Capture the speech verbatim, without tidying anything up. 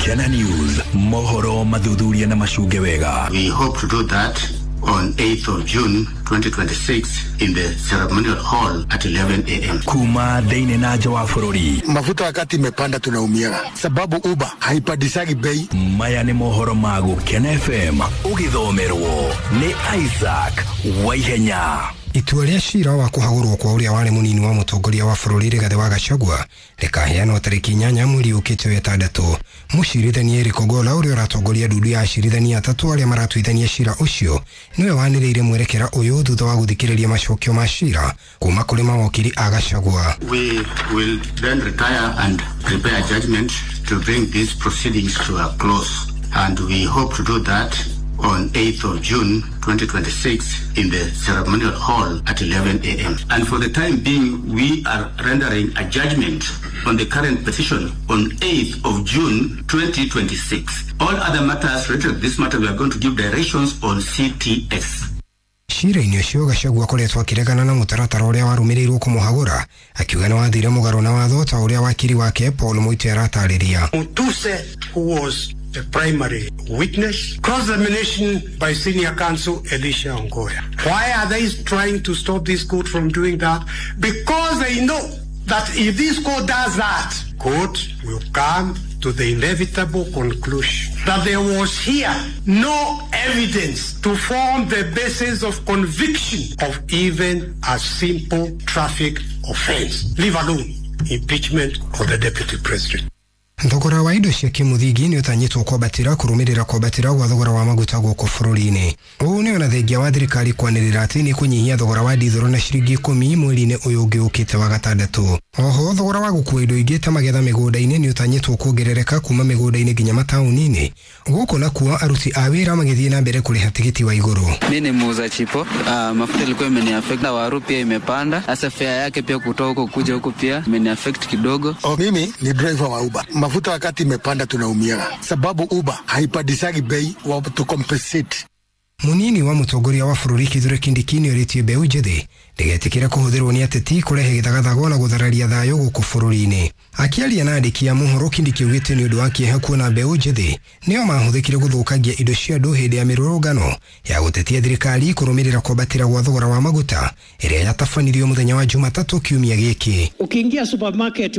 Gukena News, mohoro mathuthuria na macunge wega. We hope to do that on eighth of June twenty twenty-six in the ceremonial hall at eleven a m Kuma thĩinĩ na nja wa bũrũri. Mafuta wakati imepanda tunaumiaga, sababu Uber haipandishagi bei. Maya nĩ mohoro ma Gukena F M, ũgĩthomerwo nĩ Isaac Waihenya. Itua rĩa cira wa kũhagũrwo kwa ũrĩa warĩ mũnini wa mũtongoria wa bũrũri Rigathĩ wa Gachagua rĩkaheanwo tarĩki inyanya mweri ũkĩte wa ĩtandatũ. Mũcirithania Eric Ogolla, ũrĩa ũratongoria ndundu ya acirithania atatũ arĩa maratuithania cira ũcio, nĩwe wanĩrĩire mwerekera ũyũ thutha wa gũthikĩrĩria macokio ma cira kuma kũrĩ mawokiri a Gachagua. We will then retire and prepare a judgment to bring these proceedings to a close. And we hope to do that on eighth of June twenty twenty-six in the ceremonial hall at eleven a m. And for the time being, we are rendering a judgment on the current petition on eighth of June twenty twenty-six. All other matters related to this matter, we are going to give directions on C T S. Cira-inĩ ũcio, Gachagua akoretwo akĩregana na mũtaratara ũrĩa warũmĩrĩirwo kũmũhagũra, akiuga nĩ wathire mũgarũ na watho, ta ũrĩa wakiri wake Paul Muite aratarĩria. Mutuse, who was the primary witness, cross-examination by senior counsel Elisha Ongoya. Why are they trying to stop this court from doing that? Because they know that if this court does that, court will come to the inevitable conclusion that there was here no evidence to form the basis of conviction of even a simple traffic offense, leave alone impeachment of the deputy president. Thogora wa indo cia kĩmũthingi nĩ ũtanyĩtwo kwambatĩra kũrũmĩrĩra kwambatĩra gwa thogora wa maguta gũkũ bũrũri-inĩ. Ũũ nĩ ona thengia wa thirikari kwanĩrĩra atĩ nĩ kũnyihia thogora wa ndithũrũ na ciringi ikũmi mweri-inĩ ũyũ ũngĩ ũkĩte wa gatandatũ. Oho, thogora wa gũkua indo ingĩ ta magetha mĩgũnda-inĩ nĩ ũtanyĩtwo kuongerereka kuma mĩgũnda-inĩ nginya mataũni-inĩ, gũkũ nakuo aruti a wĩra magĩthiĩ na mbere kũrĩha tigiti wa igũrũ. Mi ni muuza chipo. Uh, mafuta ilikuwa imeniaffect na waru pia imepanda. Sasa fare yake pia kutoka huko kuja huku pia imeniaffect kidogo. O, mimi ni driver wa Uber. Mafuta wakati imepanda tunaumiaga, sababu Uber haipandishagi bei wa to compensate. Munini wa mũtongoria wa bũrũri Kithure Kindiki nĩ orĩtie mbeũ njĩthĩ ndĩgetĩkĩre kũhũthĩrwo nĩ ateti kũrehe gĩthagathago na gũthararia thayũ gũkũ bũrũri-inĩ. Akĩaria na andĩki a mohoro, Kindiki augĩte nĩ ũndũ wa kĩeha kuona mbeũ njĩthĩ nĩo mahũthĩkire gũthũkangia indo cia andũ hĩndĩ ya mĩrũrũngano ya gũtetia thirikari kũrũmĩrĩra kwambatĩra gwa thogora wa maguta ĩrĩa yatabanirio mũthenya wa Jumatatũ kiumia gĩkĩ. Ukiingia supermarket